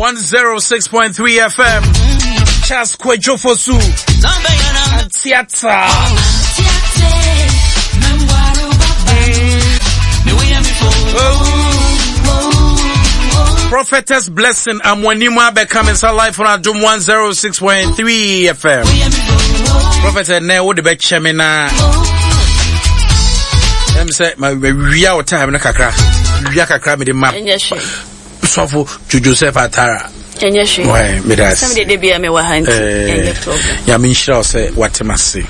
106.3 FM. Charles Kwadwo Fosu. Theatre. Prophetess Blessing Amwanima Beckham is live on Adum 106.3 FM. Prophet, ne wo de bɛkyɛ me na. Ɛm sɛ ma wia wo time no kakra. Wia kakra me de ma. Sɔfo Joseph Atara. Ɛnyɛ hwee. Why, meda ase. Sɛm de bia me wɔ ha nti. Eh, ɛnyɛ problem. Nyame nhyira wo sɛ wate m'ase.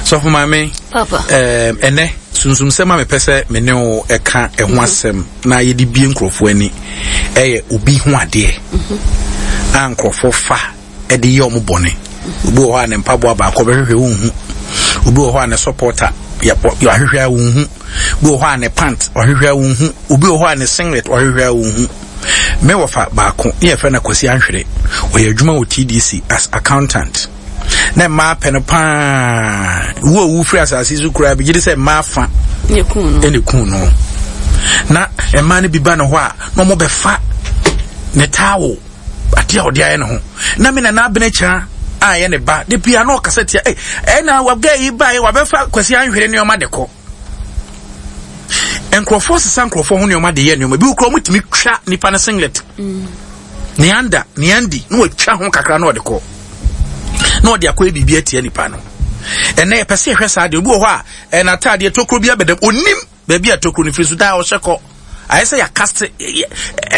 Sɔfo maame. Papa. Eh, ɛnɛ sunsum sɛm a mepɛ sɛ me ne wo ɛka ɛho mhm. asɛm na yɛde bie nkurɔfoɔ ani ɛyɛ obi ho adeɛ mhm. a nkurɔfoɔ fa ɛde yɛ ɔmo bɔne. Mhm. Obi wɔ hɔ a ne mpaboa baako ɔbɛhwehwɛ wonhu. Obi wɔ hɔ a ne supporter yɛahwehwɛ a wonhu. Obi wɔ hɔ a ne pant ɔhwehwɛ a wonhu. Obi wɔ hɔ a ne singlet ɔhwehwɛ a wonhu. Me wɔfa baako ne yɛfrɛ no Kwasi Anhwere. Ɔyɛ adwuma wɔ TDC as accountant. Na mmaa pɛ no paa. Wu a owu firi asase so koraa bi gye di sɛ mmaa fa ɛna kun no. Na mmaa no bi ba ne hɔ a na wɔn bɛfa ne towel adeɛ a ɔde ayɛ ne ho. Na me nana abene kyerɛ a ɛyɛ ne ba de bia na ɔkasa tia ɛna wagɛ yi ba yi wabɛfa Kwasi Anhwere nneɛma de kɔ. Nkurɔfoɔ sesa nkurɔfoɔ ho nneɛma de yɛ nneɛma bi kura wɔn tumi twa nipa no singlet mm. ne anda ne andi na wɔatwa ho kakra na ɔde kɔ na ɔde akɔyɛ biribi atia nipa no ɛnna yɛpɛ sɛ yɛhwɛ saa deɛ obi wɔ hɔ a ɛna ataadeɛ tokuro bi abɛdam onim baabi a tokuro no firi so daa ɔhyɛ kɔ ayɛ sɛ yɛakaste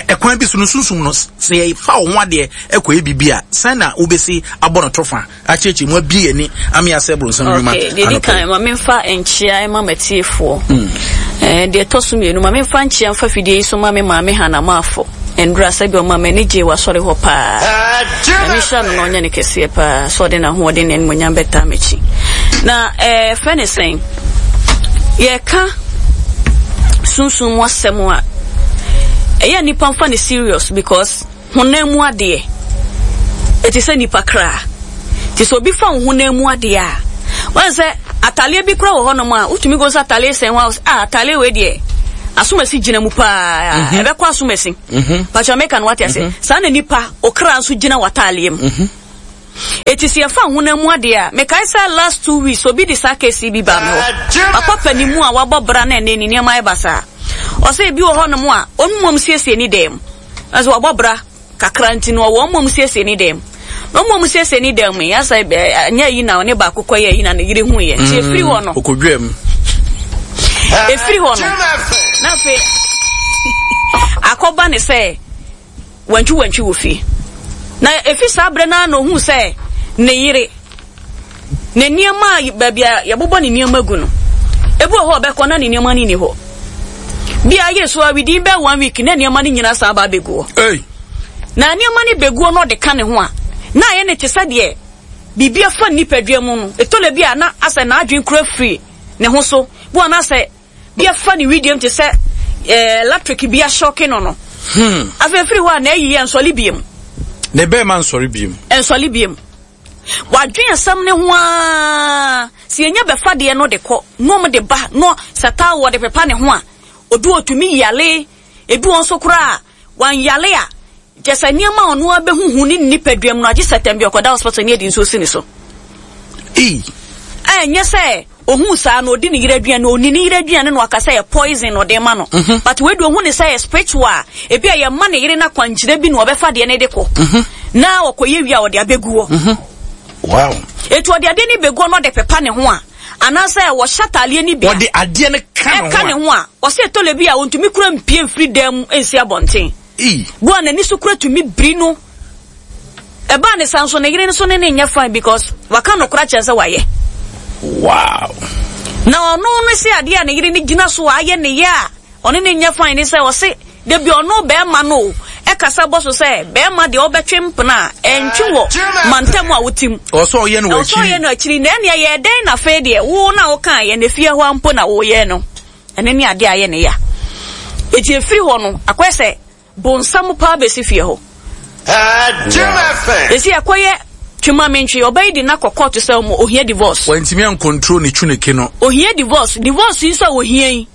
ɛkwan bi so no sunsum no sɛ yɛfa wo ho adeɛ ɛkɔyɛ biribi a sɛn na wobɛsi abɔ no tɔfa akyerɛkyerɛ mu abie yɛn ani ame asɛ bronsam nnwuma okay deɛ di kan ma memfa nkyea ma matiefoɔ mm. eh, deɛ ɛtɔ so mmienu ma memfa nkyea mfa fidie yi so ma me maame Hana Maafo ndura sɛ bi ɔma m'ani gye w'asɔre hɔ paa na mehyira no na ɔnyɛ ne kɛseɛ paa sɛ ɔde n'ahoɔden ne animuonyam bɛtaa m'akyi na ɛɛ eh, fɛ ne sɛn yɛka sunsum mu asɛm a ɛyɛ nnipa mfa ne serious because Honam mu adeɛ, ɛte sɛ nipa kra. Nti sɛ obi fa wo honam mu adeɛ a, wɔn sɛ ataleɛ bi kora wɔ hɔnom a, wotumi kɔ sɛ ataleɛ sɛn hɔ a, ah, ataleɛ wei deɛ, asomasi gyina mu paa, mhm. ɛbɛkɔ asomasi. Mhm. Patwa meka no wate ase. Mhm. Saa na nipa, okra nso gyina w'ataleɛ mu. Eti sɛ yɛfa honam mu adeɛ a, mekae sɛ last 2 weeks obi de saa case bi baa me hɔ. Papa panin mu a wabɔ bra na ɛnɛ ne nneɛma ayɛ basaa. Ɔsɛ ebi wɔ hɔnom a, ɔno mmom siesie ne dan mu. Nanso wabɔ bra kakra nti no ɔwɔ mmom siesie ne dan mu. Na ɔmmom siesie ne dan mu yi, asɛ ɛnyɛ ayi na ɔne baako kɔyɛ ayi na ne yere hu yɛ. Nti efiri hɔ no. Okodwa mu. Efiri hɔ no. Na afei akɔba ne sɛ wantwi wantwi wɔ fie. Na efi saa berɛ no ara na ohuu sɛ ne yere Ne nneɛma a baabi a yɛbobɔ ne nneɛma gu no, ebi wɔ hɔ a ɔbɛkɔ na ne nneɛma no nni hɔ. Bi a ayɛ so a within bɛyɛ one week na nneɛma no nyinaa san ba abɛgu hɔ. Hey. Na nneɛma no bɛgu hɔ na ɔde ka ne ho a, na ayɛ ne te sɛ deɛ biribi afa nipadua mu no. Ɛtɔ da bi a na asɛ n'adwene kura firi ne ho so. Bi wɔ na asɛ bi afa ne wedeɛ mu te sɛ eh, electric bi ahyɔke no no. Afei firi hɔ a na ayi yɛ nsɔle biem. Ne bɛrima nsɔre biem. Nsɔle biem. Wadwen asɛm no ho ara, sɛ yɛnya bɛfa deɛ no de kɔ, na wɔn de ba, na sɛ towel wɔde pepa ne ho a, obi ɔtumi yale, ebi wɔn nso koraa a, wanyale a, kyɛ sɛ nneɛma a ɔno ara bɛhuhu ne nipadua mu no, agye sɛ tɛm bi ɔkɔda hospital ne yɛde nsuo si ne so. Ei! Ɛnyɛ sɛ ohuu saa no odi ne yere aduane, onni ne yere aduane na waka sɛ ɛyɛ poison na ɔde ma no. Mhm. But wei de ohu ne sɛ ɛyɛ spiritual a, ebi a yɛma ne yere no akwankyerɛ bi na ɔbɛfa deɛ no de kɔ. Mhm. Na ɔkɔyɛ wie a ɔde abɛgu hɔ. Mhm. Wow. Eti ɔde adeɛ no bɛgu hɔ na ɔde pepa ne ho a, anaasɛ wɔhyɛ ataadeɛ no bi a, ɔde adeɛ no ka ne ho a, ɛka ne ho a, ɔsɛ ɛtɔlɛ bi a ɔntumi kura mpie mfiri dan mu nsi abɔnten. Ei. Bu a n'ani so kura tumi biri no. Ɛbaa ne saa nso ne yere nso ne ne nyɛ fine because waka nokora kyerɛ sɛ wayɛ. Wow. Na ɔno no se adeɛ a ne yere no gyina so a ayɛ ne yɛ a ɔne ne nyɛ fine ne sɛ ɔse dabi ɔno bɛrima no o ɛkasa bɔ so sɛ bɛrima deɛ ɔbɛtwe mpena a ɛntwe wɔ mantam a wote mu. Ɔsɛ ɔyɛ no wɔ akyiri. Ɔsɛ ɔyɛ no akyiri na ɛnea yɛ dɛn na afei deɛ wo na wokaa yɛ na efie hɔ mpo na woyɛ no. Ɛno ne adeɛ a ayɛ ne ya. Eti efiri hɔ no, akɔyɛ sɛ bonsam paa besi fie hɔ. Esi akɔyɛ twema mentwe, ɔbaa yi de no akɔ kɔɔto sɛ ɔmo ohia divorce. Wantumi ancontrol ne twuneke no. Ohia divorce, divorce yi nso a ohia yi,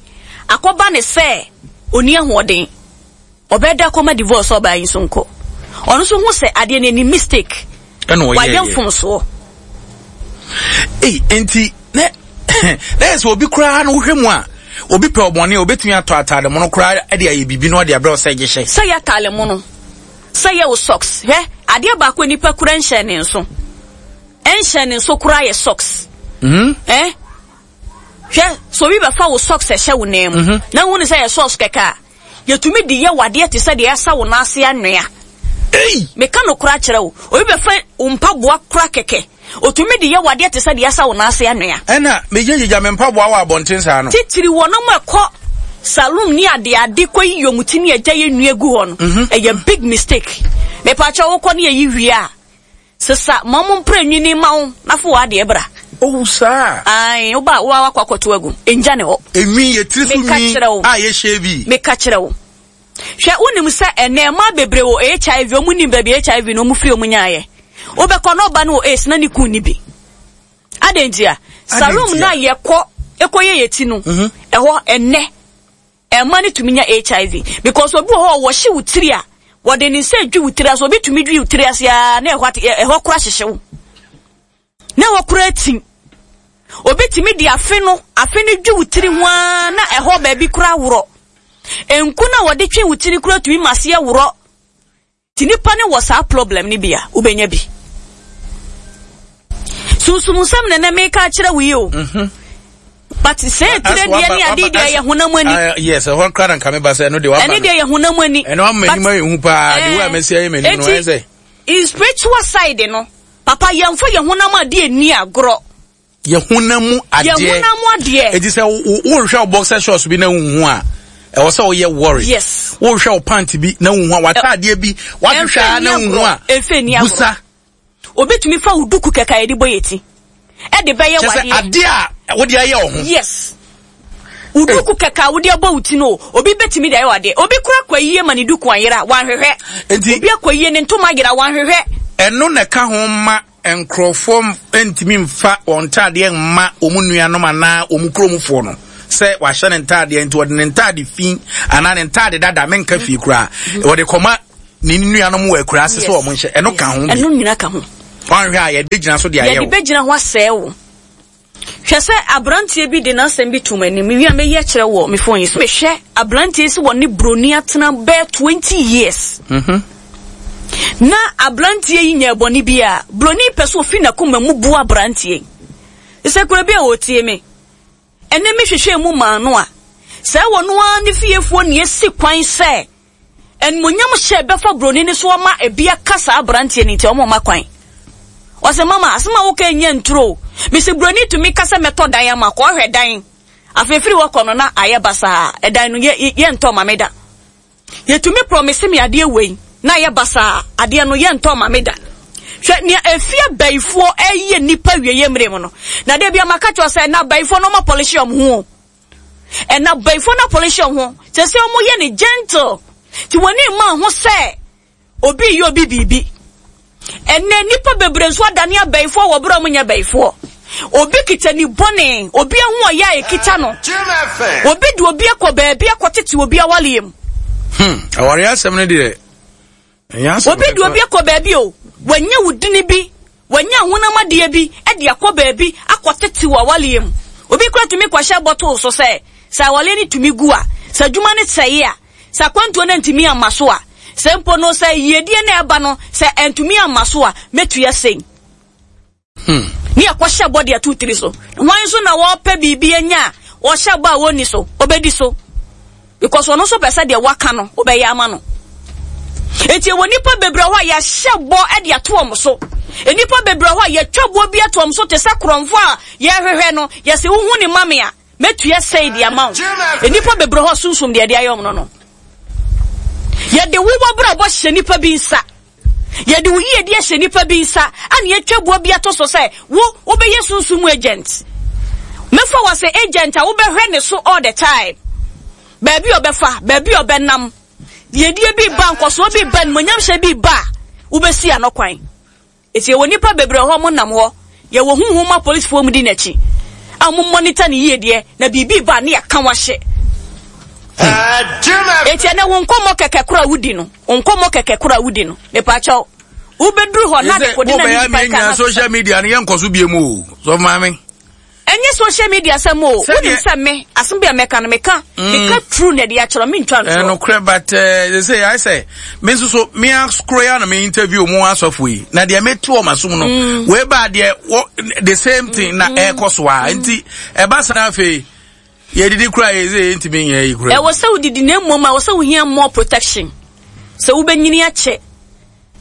akɔba ne sɛ onni ahoɔden. Ɔbɛda kɔma divorce ɔbaa yi nso nkɔ. Ɔno nso hu sɛ adeɛ no ani mistake. Ɛna ɔyɛ wayɛ mfomsoɔ. Ei, nti na na yɛ sɛ obi koraa no wohwɛ mu a obi pɛ ɔbɔne a obetumi atɔ ataade mono koraa de ayɛ biribi na ɔde abrɛ wo sɛ gye hyɛ. Sɛ yɛ ataade mono, sɛ yɛ wo socks. Hwɛ, adeɛ baako a nipa kura nhyɛ ne nso. Ɛnhyɛ ne nso koraa yɛ socks. Mm. Eh? Hwɛ, sɛ obi bɛfa wo socks ɛhyɛ wo nan mu, mm -hmm. na hu ne sɛ yɛ socks kɛkɛ a, Yɛtumi de yɛ wo adeɛ te sɛ deɛ yɛasa wo nan ase anwea. Ei! Meka nokorɛ akyerɛ wo, obi bɛfa wo mpaboa kora kɛkɛ, ɔtumi de yɛ wo adeɛ te sɛ deɛ yɛasa wo nan ase anwea. Ɛna megyinagyigya me mpaboa wɔ abɔnten saa no. Titiri wɔnom a ɛkɔ saloon ne adeade kɔyi wɔn ti ne agya yɛ nua gu hɔ no, ɛyɛ big mistake. Mepaakyɛw wokɔ ne yɛyi wie a, Sesa ma ɔmo mpra nwini mma wo na fa w'adeɛ bra. Oh saa. Ae, wo ba a, wo ara wakɔ akɔto agu. Ngya ne hɔ. Enwi, yɛ tiri so Meka nwi kyerɛ wo. a yɛ shave. Meka kyerɛ wo. Hwɛ, wonim sɛ ɛnnɛ mmaa bebree wɔ HIV, ɔmo nnim baabi HIV no ɔmo firi ɔmo nyaeɛ. Wobɛkɔ na ɔba no wɔ AIDS na ne kun nni bi. Adɛn ntia? Saloon no a yɛkɔ kɔyɛ yɛ ti no, ɛhɔ ɛnnɛ Ɛma no tumi nya HIV because obi wɔ hɔ a wɔhye wo tiri a wɔde ne nsa dwi wo tiri ase obi tumi dwi wo tiri ase aa na ɛhɔ ate ɛhɔ kora hyehye wo na ɛhɔ kora atim obi tumi de afe no afe no dwi wo tiri ho aa na ɛhɔ baabi kora worɔ nku na wɔde twe wo tiri kora tumi ma aseɛ worɔ. Nti nipa no wɔ saa problem no bi a, wobɛnya bi. Sunsum nsɛm na ɛnɛ meka akyerɛ wo yi o. Mhm. But sɛ etire deɛ ne ade deɛ yɛ honam ani. Ah, yes, ɛhɔ kora na nka meba sɛ ɛno deɛ waba. Ɛne deɛ yɛ honam ani. Ɛno ama anim ayɛ hu paa, de wo a mɛsi ayɛ m'anim no, ɛyɛ sɛ. In spiritual side no, papa yɛmfa yɛ honam adeɛ nni agorɔ. Yɛ honam mu adeɛ. Yɛ honam mu adeɛ. Eti sɛ wohwɛ wo boxer shorts bi na wohu a, ɛwɔ sɛ woyɛ worry. Yes. Wohwɛ wo pant bi na wohu a, w'ataadeɛ bi wahwehwɛ a na wohu a, busa. Obi tumi fa wo duku kɛkɛ a yɛde bɔ yɛ ti ɛde bɛyɛ wadeɛ. Kyɛ sɛ adeɛ a wode ayɛ wo ho. Yes. Wo duku kɛkɛ a wode abɔ wo ti no, obi bɛtumi de ayɛ wadeɛ. Obi kura kɔ ayie ma ne duku anyera, wanhwehwɛ. Enti, obi akɔ ayie ne ntoma ayera, wanhwehwɛ. Ɛno na ɛka ho ma Nkurɔfoɔ ntumi mfa wɔn ntaadeɛ mma wɔn nuanom anaa wɔn kuromfoɔ no sɛ wahyɛ ne ntaadeɛ nti wɔde ne ntaade fi anaa ne ntaade dada menka fie koraa wɔde kɔma ne nuanom wɔ akura ase sɛ wɔn nhyɛ ɛno ka ho bi ɛno nyina ka ho wɔnhwɛ a yɛde gyina so de ayɛ wo yɛde bɛgyina ho asɛe wo Hwɛ sɛ aberanteɛ bi de n'asɛm bi too m'anim. Mewie a mɛyi akyerɛ wɔ me phone yi so. Mehwɛ aberanteɛ yi sɛ wɔne broni atena bɛyɛ 20 years. Mm-hmm. Na aberanteɛ yi nyɛɛ bɔne bi a, broni pɛ sɛ ofi n'akoma mu bu aberanteɛ yi. Sɛ kura bi a ɔtie me. Ɛnɛ mehwehwɛ mu maa no a, sɛ wɔno ara ne fiefoɔ ne asi kwan sɛ Animuonyam hyɛ bɛfa broni no so ama ebi aka saa abranteɛ no nti ɔmo mma kwan. Ɔse mama asem a woka yi nyɛ nturo o. Mese broni tumi ka sɛ mɛtɔ dan ama kɔ ɔhwɛ dan. Afei firi hɔ kɔ no na ayɛ basaa ɛdan no yɛ yɛntɔ ma me da. Yɛtumi promise me adeɛ wei na ayɛ basaa adeɛ no yɛntɔ ma me da. Hwɛ nea efie abayifoɔ ɛyɛ nipa wieɛ mmerɛ mu no. Na da bia maka kyerɛ wo sɛ na abayifoɔ no ɔmo apolish ɔmo ho o. Ɛna abayifoɔ no apolish wɔn ho kyerɛ sɛ wɔn yɛ no gentle nti wɔn ani mma ho sɛ obi yɛ obi biribi. Ɛnɛ nnipa bebree nso adane abayifoɔ wɔ berɛ a wɔn nyɛ abayifoɔ. Obi kita ni bɔne, obi aho ɔyɛ a ekita no. Obi de obi akɔ baabi akɔtete obi awaleɛ mu. Hmm, awareɛ asɛm no deɛ Obi de obi akɔ baabi o, wanya wo dini bi, wanya honam adeɛ bi de akɔ baabi akɔtete wɔ awaleɛ mu. Obi kora tumi kɔhyɛ bɔtol so sɛ, sɛ awaleɛ no tumi gu a, sɛ adwuma no sɛe a, sɛ akwantuo no antumi amma so a, sɛ mpo no sɛ yiedie no ɛba no, sɛ antumi amma so a, mɛtua sei. Hmm. Ne yɛkɔhyɛ bɔ de ato tiri so. Hwan nso na wɔpɛ biribi anya a wɔhyɛ bɔ a wɔnni so, ɔbɛdi so. Because ɔno nso pɛ sɛ deɛ waka no, wobɛyɛ ama no. Enti ɛwɔ nnipa bebree hɔ a yɛahyɛ bɔ de ato wɔn so. Nnipa bebree hɔ a yɛatwa boɔ bi ato wɔn so te sɛ korɔmfo a yɛrehwehwɛ no, yɛsɛ wohu ne ma me a, mɛtua sei de ama wo. Nnipa bebree hɔ sunsum deɛ ɛde ayɛ wɔn no no. Yɛde wo w'abrabɔ hyɛ nnipa bi nsa. Yɛde wo yiyedi ahyɛ nnipa bi nsa a na yɛatwa boɔ bi ato so sɛ wo wobɛyɛ sunsum mu agent. Mɛfa wo asɛ agent a wobɛhwɛ ne so all the time. Baabi a ɔbɛfa, baabi a ɔbɛnam, yiedie bi ba, nkɔsoɔ bi ba, animuonyamhyɛ bi ba a, wobɛsi ano kwan. Eti yɛwɔ nnipa bebree wɔ hɔ a wɔnam hɔ. Yɛwɔ honhom mu apolisifoɔ a wɔdi n'akyi a wɔn monitor ne yiedie na biribi ba a ne yɛaka wahye. Eti ɛnɛ wo nkɔmmɔ kɛkɛ koro a wodi no, wo nkɔmmɔ kɛkɛ koro a wodi no, mepaakyɛw, wobɛduru hɔ na de kode na nipa ka na social media no yɛnkɔ so bie mu o, sɔfo maame. Ɛnyɛ social media sɛm o. Wonim sɛ me, asɛm bi a mɛka no, meka, mm. meka true na ɛde akyerɛ, mentwa ntorɔ. Ɛnokorɛ, but eh, they say, I say, me nso so, me akoro ya na me interview mu asɔfo yi, na deɛ mete wɔ m'asom no, mm. wei ba deɛ, the same thing na mm. ɛkɔ so a, nti, ɛba sa na afei, yɛdidi kora yɛ sɛ yɛntumi nyɛ yi kora. Ɛwɔ sɛ wodidi na mmom ɛwɔ sɛ wohia more protection. Sɛ wobɛnyini akyɛ.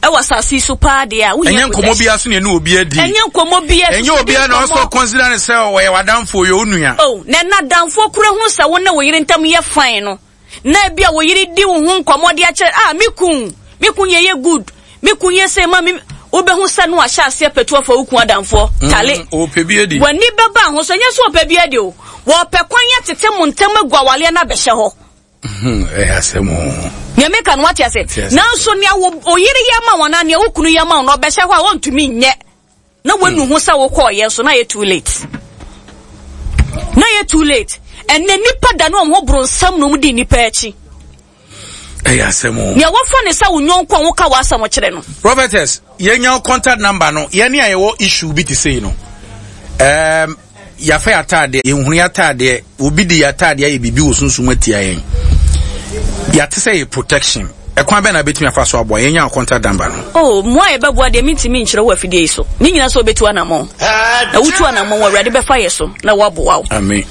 Ɛwɔ asase yi so paa deɛ a, wohia Ɛnyɛ nkɔmmɔ biara so na ɛne obi adi. Ɛnyɛ nkɔmmɔ biara so. Ɛnyɛ obiara na ɔsɔ consider ne sɛ ɔyɛ w'adamfo, ɔyɛ wo nua. Oh, na ɛna adamfoɔ kura hunu sɛ wo ne wo yere ntam yɛ fine no, na ebi a wo yere di wo ho nkɔmmɔ de akyerɛ, ah, me kun, me kun yɛ yɛ good, me kun yɛ sei ma me, wobɛhu sɛ no ahyɛ aseɛ pɛtu afa wo kun adamfoɔ, mm, tale. Ɔpɛ bi adi. W'ani bɛba ho so, ɛnyɛ sɛ ɔpɛ bi adi o. Wɔpɛ kwan atete mo ntam agu awaleɛ no abɛhyɛ hɔ. Hmm, ɛyɛ asɛm o. Nea meka no wate ase. Nanso nea wo oyere yɛ ma wɔn anaa nea wo kunu yɛ ma wɔn no ɔbɛhyɛ hɔ a wɔntumi nyɛ. Na wanu ho sɛ wokɔɔ yɛ nso na yɛ too late. Na yɛ too late. Ɛnɛ nipa da ne wɔn ho boro nsam na wɔn di nipa akyi. Ɛyɛ asɛm o. Nea wɔfa ne sɛ wo nyɔnko a woka w'asɛm kyerɛ no. Prophetess, yɛnya contact number no, yɛne a yɛwɔ issue bi te sei no. Um, Yɛafa yɛn ataadeɛ, yɛnhunu yɛn ataadeɛ, obi de yɛn ataadeɛ ayɛ biribi wɔ sunsum atia yɛn. Yɛate sɛ yɛ protection. Ɛkwan bɛn na bɛtumi afa so aboa yɛn nya contact number no? Oh, mmoa a yɛbɛboa deɛ mentumi nkyerɛ wɔ afidie yi so. Ne nyinaa sɛ wobɛtu anammɔn. Na wotu anammɔn Awurade bɛfa yɛ so na waboa wo. Amen.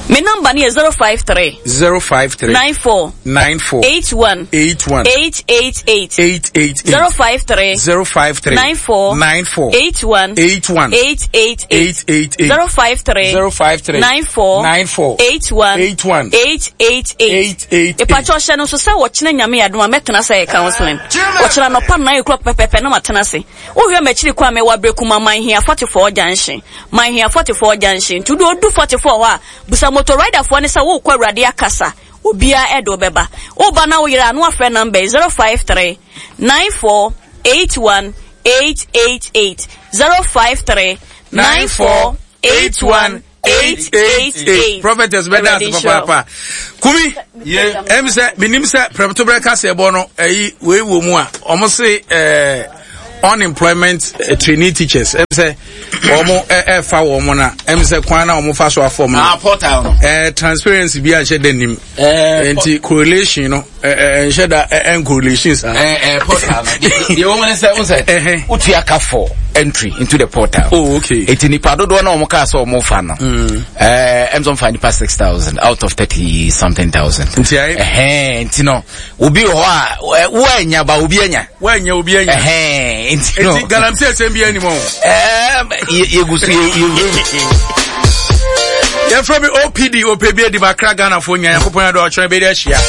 Me number no yɛ 053. 053. 94. 94. 81. 81. 888. 888. 053. 053. 94. 94. 81. 81. 888. 888. 053. 053. 94. 94. 81. 81. 888. 888. Ìpàkyɛ ɔhyɛ no nso sɛ wɔkyena nyame adom a mɛtena sɛ yɛ counseling. Wɔkyena nɔpa nnan ekura pɛpɛpɛ na matena ase. Wohwɛ m'akyiri kwan mewɔ Aberekuma Manhia 44 junction. Manhia 44 junction. Nti wode odu 44 hɔ a busa motor rider foɔ no sɛ wokɔ Awurade akasa. Obiara ɛde wo bɛba. Woba na wo yere a na wafrɛ number yi 053 94 81 888 053 94 81 888. Prophetess bɛda ase papaapa. Kumi, ɛm sɛ menim sɛ prɛmtoberɛ kaseɛbɔ no ɛyi wei wɔ mu a ɔmo se ɛɛ unemployment eh, trainee teachers ɛm sɛ wɔn ɛfa wɔn na ɛm sɛ kwan na wɔn fa so afɔm no ah, portal no ɛɛ transparency bi anhyɛ dɛ nim eh, nti correlation no ɛɛ nhyɛ da ɛn correlation saa. ɛɛ ɛɛ portal no deɛ wɔn ne sɛ n sɛ wotua ka for entry into the portal. oh okay. eti nipa dodoɔ na wɔn kaa sɛ wɔn fa no. Mm. ɛɛ ɛm sɛ wɔn fa nipa 6,000 out of thirty something thousand. nti ayi. ɛhɛn nti no obi wɔ hɔ a woanya ba obi anya. Woanya obi anya. Ɛhɛn nti no. Nti galamsey asɛm bi anim o. Ɛɛm yɛgu so yɛ yɛ. Yɛfrɛ me OPD OPB adi bakra Ghanafoɔ nyinaa Nyankopɔn adɔ ɔkyerɛ bɛdi ahyia.